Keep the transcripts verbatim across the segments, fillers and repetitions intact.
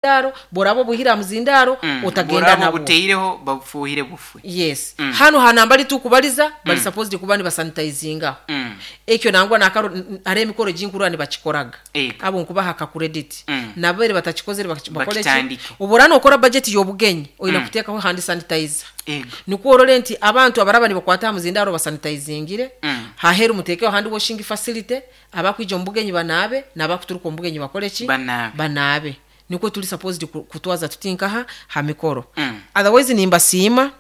Muzindaro boraba obuhire aha muzindaro, Mm. otagenda Buraba nabo. Buteireho babufuhire bufwe. Yes. Mm. Hano hanambali tukubaliza bali supposed kuba nibasanitizingaho. Mm. Ekyo nangwa nakaro ari emikoro ginkuru nibakikoraga. Ego. Abo nkubaha ka credit. Mm. Nabere batakikozere bakore ki? Bakitandike. Obora nokora budget y'obugenyi oyina Mm. kuteekaho hand sanitizer. Ego. Nikwo orore nti abantu abaraba nibakwata aha muzindaro basanitizingire. Mm. Haheru mutekeho hand washing facility, abakwija omu bugenyi banaabe n'abakuturuka omu bugenyi bakore ki? Banaabe. Banaabe. Nikwo tuli supposed ku- kutwaza tutinkaha ha mikoro. Mm. Otherwise nimbasiima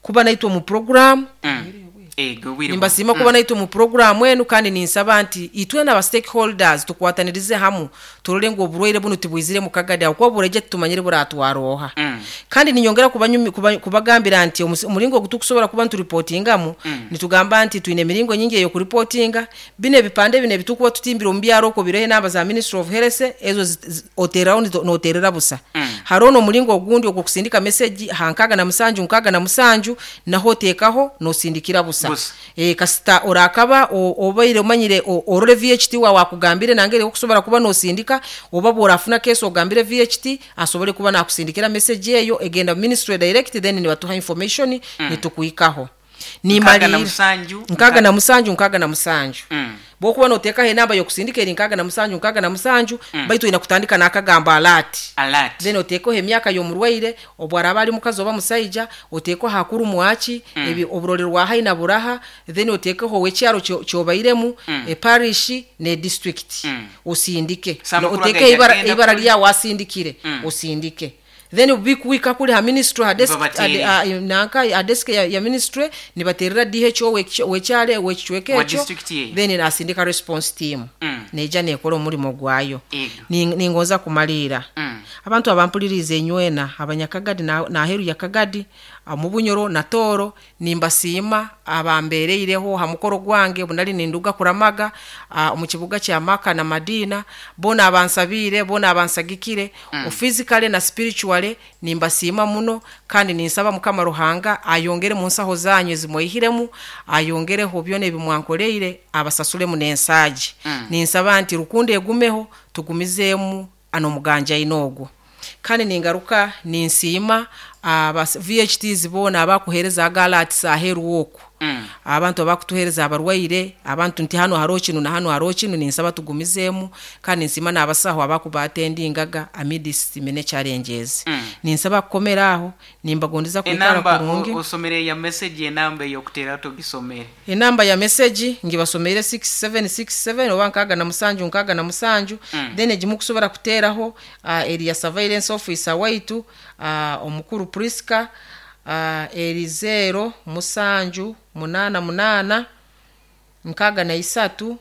kuba naitwe omu program. Mm. Ego bwire. Nimbasiima kuba naitwe mu program enu, kandi ninsaba nti itwe n'aba stakeholders tukwatanirize hamu turore ngu oburwaire bunu tibwizire mu Kagadi aho, kuba bureje tutumanyire buratwaroha. Mm. Kandi ninyongera kubanyumi- kuba- kubagambira nti omusi- omuringo ogu tukusobora kuba nituripotingamu, Mm. nitugamba nti twine emiringo nyingi ey'okuripotinga. Bino ebipande bino ebitukuba tutimbire omu byaro okwo bireho enamba za Ministry of Health, ezo zi- zi- otereraho nito- noterera busa. Mm. Hariho n'omuringo ogundi ogw'okusindika message ha nkaaga na musanju nkaaga na musanju, naho oteekaho nosindikira busa. Busa. e, kasita orakaba o- obaire omanyire o- orore V H T wawe akugambire nangere okusobora kuba nosindika, oba bworafuna case ogambire V H T asobole kuba nakusindikira message eyo egenda mu ministry direct, then nibatuha information, mm. nitukuhikaho. Nkaaga na Nimalira. musanju. Nkaaga na musanju nkaaga na musanju. Mm. Bwokuba noteekaho enamba y'okusindika eri nkaaga na musanju nkaaga na musanju, baitu oyina kutandika n'akagamba "alert". Alert. Then oteekeho emyaka y'omurwaire, obwo araba ari mukazi oba musaija, oteekeho hakuru mwaki, mm. ebi oburorero bwa haina buraha, then oteekeho ow'ekyaro kyo- kyobairemu, mm. eparish ne district. Mm. Osindike. So amakuru oteekeho agaija ibara, agenda ibara kuri- lyawe asindikire. Mm. Osindike, then bikuwika kuli ha ministry, ha desk, Nibabateerera. ha- ha- nanka ha desk ya, ya ministry, nibaterera D H O w'ekyalo w'ekicweka Wa ekyo. district eyo. Then nasindika response team, Mm. neija nekora omurimo gwayo. Ego. Ni- ningonza kumaliira. Mm. Abantu abampuliriza enywena, abanyakagadi na- naheru ya Kagadi, mu Bunyoro na Tooro, nimbasiima abambereireho ha mukoro gwange bunali ninduga kuramaga ah, omu kibuga kya Maka na Madina. Bona abansabiire, bona abansagikire mm. physically na spiritually, nimbasiima muno, kandi ninsaba Mukama Ruhanga ayongere mu nsaho zanyu ezimwaihiremu, ayongereho byona ebimwankoleire, abasasulemu n'ensaagi. Mm. Ninsaba nti rukundo egumeho, tugumizeemu ano muganja ogwo. Kandi ningaruka ninsiima aba V H Ts boona abakuheereza agalats aheeru okwo, Mm. abantu abakutuheereza abarwaire, abantu nti hano hariho kinu na hano hariho kinu. Ninsaba tugumizeemu, kandi ninsiima n'abasaho abakubatendingaga amidst many challenges. Mm. Ninsaba kukomera aho, nimbagondeza kwikara Enamba kurungi. o- osomere ya message, enamba ey'okutera togisomere. Enamba ya message ngibasomeire, six seven six seven oba nkaaga na musanju nkaaga na musanju. Mm. Then egimu kusobora kuteeraho uh, eri ya surveillance officer waitu, uh, omukuru Priska, uh, eri zero musanju munaana munaana nkaaga na isatu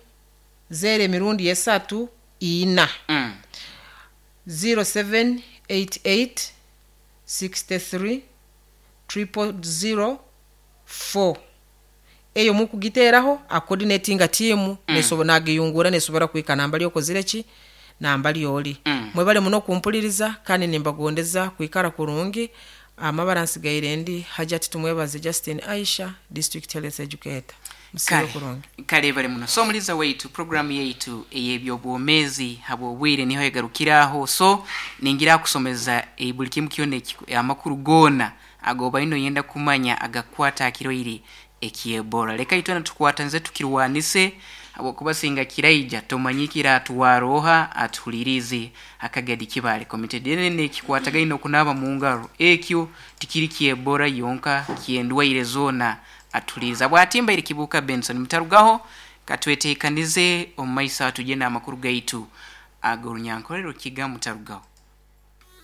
zero emirundi esatu ina. Mm. zero seven eight eight sixty-three triple zero four. Eyo mukugiteeraho acoordinatinga team, mm. nesobo nagiyungura nesobora kuhika namba lyokozire ki namba lyoli. Mm. Mwebale muno kumpuliriza, kandi nimbagondeza kwikara kurungi. Amabara nsigaire ndi Hajati Tumwebaze Justin Aisha, district health educator. Musibe Kale. kurungi. Kale bali muno. So omuliza waitu, programu yaitu ey'ebyobwomeezi habwobwire niho egarukiraho. So ningira kusomeza eh, buli kimu kyona eki- amakuru goona agobaine oyenda kumanya agakwata akiroire ekyebola. Leka itwena tukwatanize tukirwanise, habwokuba singa kiraija tomanyikira atuwaroha atuhulirize akagadi kibale committed ene ekikwatagaine okunaaba mu ngaro. Ekyo tikiri kyebola yonka, kyendwaire zoona atuliza bwatimba iri Kibuka Benson. Mutarugaho, katwetekanize omu maiso atugende amakuru gaitu ag'orunyankorero kiga. Mutarugaho.